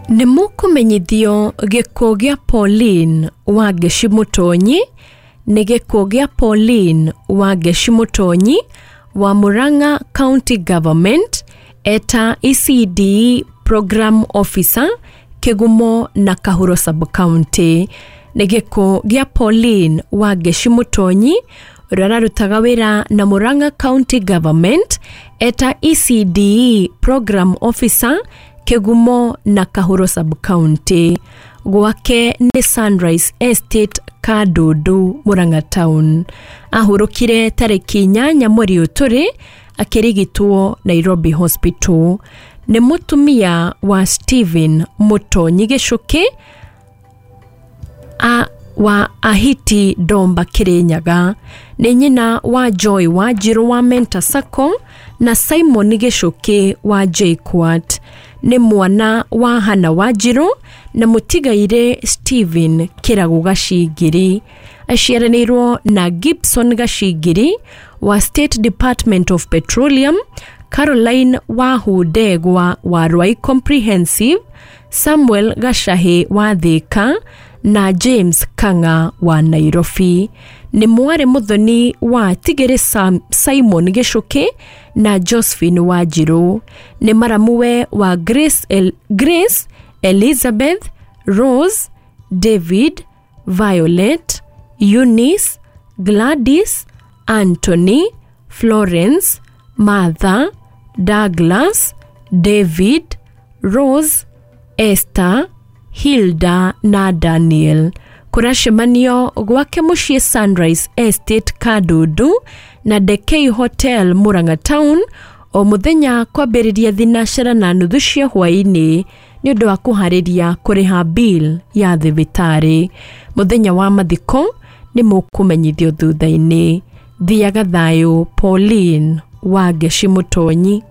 Nĩ mũkũmenyithio gĩkuũ gĩa Pauline Wangeci Mũtonyi. Nĩ gĩkuũ gĩa Pauline Wangeci Mũtonyi wa Murang'a County Government, eta ECDE Program Officer, Kĩgumo na Kahuro Sub-County. Nĩ gĩkuũ gĩa Pauline Wangeci Mũtonyi, ũrĩa ũrarutaga wĩra na Murang'a County Government eta ECDE Program Officer, Kĩgumo na Kahuro Sub-County. Gwake nĩ Sunrise Estate, Kandundu, Murang'a Town. Ahurũkire tarĩki 8 mweri ũyũ tũrĩ akĩrigitwo Nairobi Hospital. Nĩ mũtumia wa Stephen Mũtonyi Gĩcũkĩ a wa Ahiti Domba, Kirinyaga. Nĩ nyina wa Joy Wanjirũ wa Mentor Sacco na Simon Gĩcũkĩ wa JKUAT. Nĩ mwana wa Hana Wanjirũ na mũtigairĩ Stephen Kĩragũ Gacingiri. Aciaranĩirwo na Gibson Gacingiri wa State Department of Petroleum, Caroline Wahundegwa wa Ruai Comprehensive, Samuel Gacahi wa Thika na James Kang'a wa Nairobi. Nĩ mwarĩ mũthoni wa Tigĩrĩ Simon Gĩcũkĩ na Josephine Wanjirũ. Nĩ maramuwe wa Grace, Grace Elizabeth, Rose, David, Violet, Eunice, Gladys, Anthony, Florence, Martha, Douglas, David, Rose, Esther, Hilda na Daniel. Kũracemanio gwake mũciĩ Sunrise Estate, Kandundu, na Dekei Hotel, Murang'a Town, o mũthenya kwambĩrĩria 3:30 cia hwaĩ-inĩ nĩ ũndũ wa kũharĩria kũrĩha bill ya thibitarĩ. Mũthenya wa mathiko nĩ mũkũmenyithio thutha-inĩ. Thiaga thayũ, Pauline Wangeci Mũtonyi.